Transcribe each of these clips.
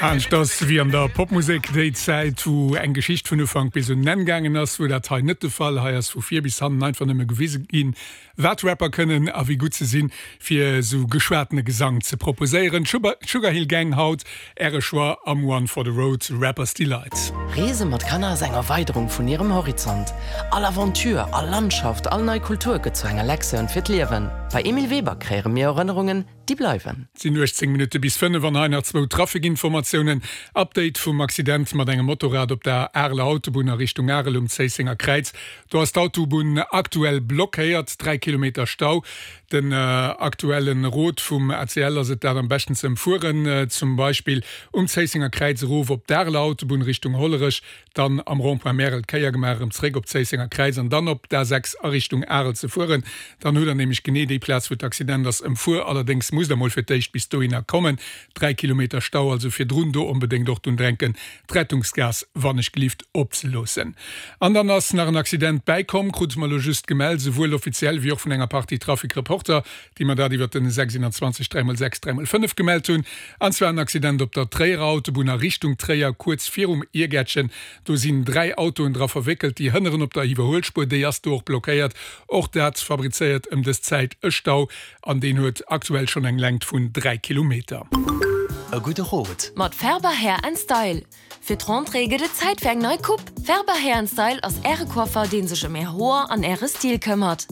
Anescht ass wéi an der Popmusek déi Zäit, wou eng Geschicht vun Ufank bis un en Enn gaangen ass, wor dat hei net de Fall. Hei ass vu vir bis hannen einfach nëmme gewise ginn, wat Rapper kënnen a wéi gutt se sinn, fir esou geschwatene Gesang ze proposéieren. Sugar Hill Gang haut Äre Choix am One for the Road, Rapper's Delight. Reese mat Kanner ass eng Erweiderung vun hirem Horizont. All Aventure, all Landschaft, all nei Kultur gëtt zu enger Lektioun fir d'Liewen. Bei Emile Weber kreéiere mir Erënnerungen, déi bleiwen. Et sinn 18 Minutte bis 5 an hei nach zwou Trafikinformatiounen. Update vum Accident mat engem Motorrad op der Areler Autobunn a Richtung Arel um Zéissenger Kräiz. Do ass d'Autobunn aktuell blockéiert, 3 Kilometer Stau. Den aktuelle Rot vum ACL ass et dat am beschten ze ëmfueren, zum Beispill um Zéissenger Kräiz erof op d'Areler Autobunn Richtung Hollerech, dann am Rond-point Märel d'Kéier gemaach, erëm zeréck op d'Zéissenger Kräiz an dann op d'A6 a Richtung Arel ze fueren. Dann hutt der nämlech genee déi Plaz, wou d'Accident ass, ëmfuer. Allerdéngs musst der mol fir d'éischt bis dohinner kommen. 3 Kilometer Stau, also virdrun do onbedéngt och drun drenken, d'Rettungsgaass wannechgelift opzeloossen. An dann ass nach en Accident bäikomm, krute mer elo just gemellt, esouwuel offiziell wéi och vun enger Partie Trafic-Reporter, déi mer dat iwwert den 6 21 3 x 6 3 x 5 gemellt hunn, an zwar en Accident op der Tréierer Autobunn a Richtung Tréier, kuerz virum Iergäertchen. Do sinn 3 Autoen dra verwéckelt, déi hënneren op der Iwwerhuelspuer, déi ass do och blockéiert. Och dat fabrizéiert ëm dës Zäit e Stau an deen huet aktuell schonn eng Längt vun 3 Kilometer. E gudde Rot. Mat Ferber Hair and Style. Fir d'Rentrée gëtt et Zäit fir eng nei Coupe! Ferber Hair and Style ass äre Coiffer, deen sech ëm är Hoer an äre Stil këmmert.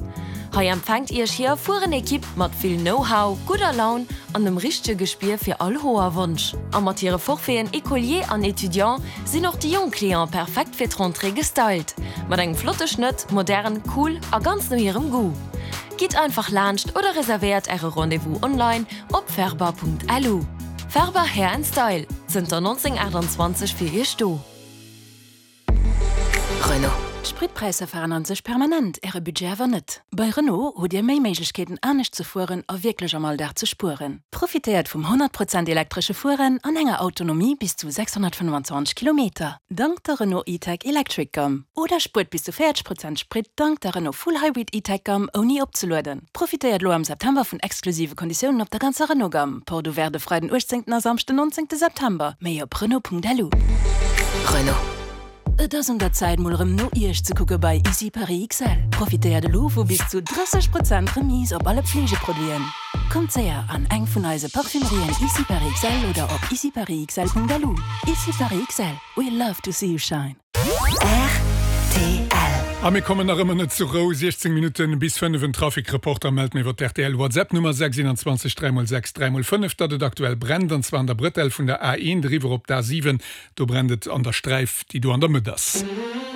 Hei empfänkt iech hir erfueren Equipe mat vill Know-how, gudder Laun an dem richtege Gespier fir all Hoerwonsch. A mat hire Forfaiten Écolier an Étudiant sinn och déi jonk Clienten perfekt fir d'Rentrée gestylt. Mat engem flotte Schnëtt, modern, cool a ganz no hirem Goût. Gitt einfach laanscht oder reservéiert äre Rendez-vous online op ferber.lu. Ferber Hair and Style, zënter 1928 fir Iech do. Renault. D'Spritpräisser veränneren sech permanent, Äre Budget awer net. Bei Renault hutt Dir méi Méiglechkeeten anescht ze fueren a wierklech am Alldag ze spueren. Profitéiert vum 100 Prozent elektresche Fueren an enger Autonomie bis zu 625 Kilometer, dank der Renault E-Tech Electric Gamme. Oder spuert bis zu 40 Prozent Sprit dank der Renault Full Hybrid E-Tech Gamme ouni opzelueden. Profitéiert elo am September vun exklusive Konditiounen op der ganzer Renault Gamme. Porte ouverte e Freiden 18 a Samschden 19 September. Méi op Renault.lu. Renault. Et ass un der Zäit mol erëm no Iech ze kucke bei Ici Paris XL. Profitéiert elo vu bis zu 30 Prozent Remise op alle Pflegeproduiten. Kommt séier an eng vun eise Parfümerien Ici Paris XL oder op iciparisxl.lu. Ici Paris XL, we love to see you shine. Rtl. A mir kommen nach ëmmer net zur Rou, 16 Minutten bis 5. En Trafic-Reporter mellt mir iwwer d'RTL WhatsApp Nummer 6 21 3 x 6 3 x 5, datt et aktuell brennt, an zwar an der Brëtell vun der A1 eriwwer op d'A7. Do brennt et an der Sträif, déi do an der Mëtt ass.